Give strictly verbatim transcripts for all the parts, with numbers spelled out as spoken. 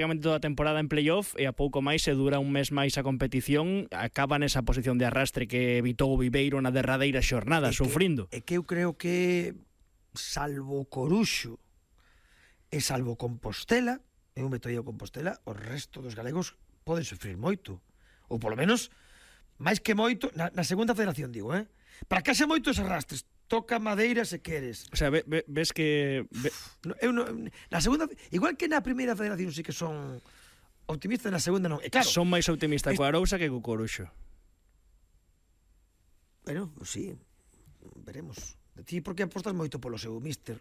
prácticamente toda a temporada en playoff e a pouco máis se dura un mes máis a competición, acaba nesa posición de arrastre que evitou o Viveiro na derradeira xornada, é sufrindo. Que, é que eu creo que salvo Coruxo e salvo Compostela, eu meto aí a Compostela, o resto dos galegos poden sufrir moito, ou polo menos máis que moito na, na segunda federación, digo, eh? Para que haxa moitos arrastres, toca madeira se queres. O sea, ve, ve, ves que... Ve... No, eu no, na segunda, igual que na primeira federación sí que son optimistas, na segunda non. E claro, son máis optimistas co Arousa que co Coruxo. Bueno, sí, veremos. De ti porque apostas moito polo seu míster.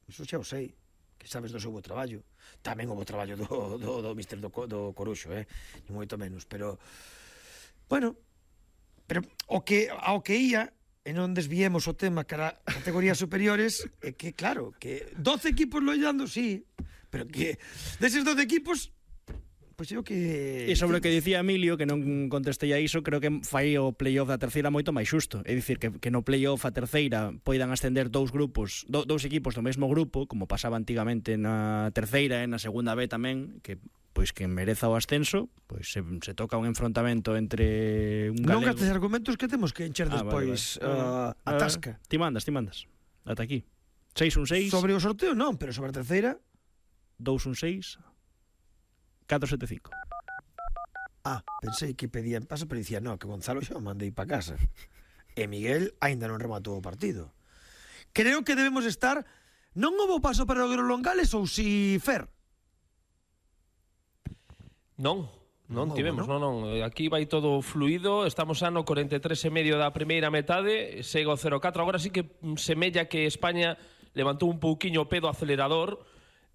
Iso xa o sei, que sabes do seu bo traballo. Tamén o bo traballo do, do, do míster do, do Coruxo, eh? Ni moito menos, pero... Bueno, pero o que, ao que ia... e non desviemos o tema cara a categorías superiores, é que, claro, que doce equipos loitando, sí, pero que deses doce equipos, pois eu que... E sobre o que dicía Emilio, que non contestei a iso, creo que fai o playoff da terceira moito máis xusto. É dicir, que, que no playoff a terceira poidan ascender dous grupos, do, dous equipos do mesmo grupo, como pasaba antigamente na terceira e na segunda B tamén, que pois que mereza o ascenso, pois se, se toca un enfrontamento entre un galego... Non gastes argumentos que temos que encher despois ah, vale, vale. Uh, a tasca. Uh, ti mandas, ti mandas. Ata aquí. seis un seis. Sobre o sorteo non, pero sobre a terceira... dous un seis. catro sete cinco. Ah, pensei que pedían paso, pero dicía, no, que Gonzalo xa o mandei pa casa. E Miguel aínda non rematou o partido. Creo que debemos estar... Non houbo paso para o Grolongales ou si Fer? Non, non, non tivemos, non? non, non. Aquí vai todo fluido, estamos xa no corenta e tres e medio da primeira metade, segue o cero catro. Agora sí que semella que España levantou un pouquiño o pé do acelerador.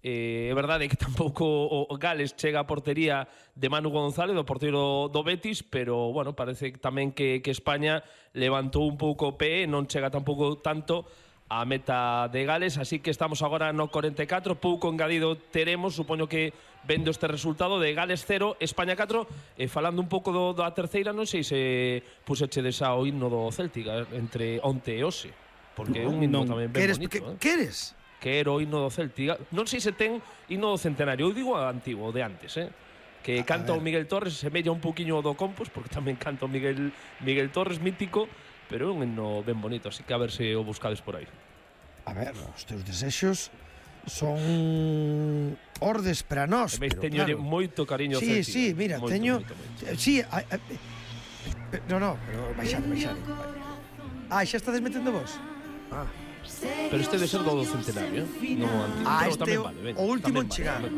Eh, é verdade que tampouco o Gales chega a portería de Manu González, do porteiro do Betis, pero, bueno, parece tamén que, que España levantou un pouco o pé, non chega tampouco tanto a meta de Gales, así que estamos agora no corenta e catro, pouco engadido teremos, supoño que vendo este resultado de Gales cero, España catro, e falando un pouco do, da terceira, non sei se pusechedes ao himno do Céltica entre onte e hoxe, porque é un himno non, tamén ben queres, bonito. Que, eh? queres? Que era o himno do Céltica, non sei se ten himno do centenario, eu digo o antigo, o de antes, eh? que a, canta a o Miguel Torres, semella un poquinho do Compos, porque tamén canta o Miguel, Miguel Torres, mítico, pero é un himno ben bonito, así que a ver se o buscades por aí. A ver, os teus desexos son ordes para nós, pero teño claro, moito cariño sí, Céltica. Sí, mira, moito, teño moito, moito. Sí, a, a, no, no, pero baixade, baixade. Ah, xa estades metendo vos? Ah. Pero este debe ser do do centenario, eh? No antigo. Ah, pero este tamén o, vale, ben, o último en vale, chegar. vale.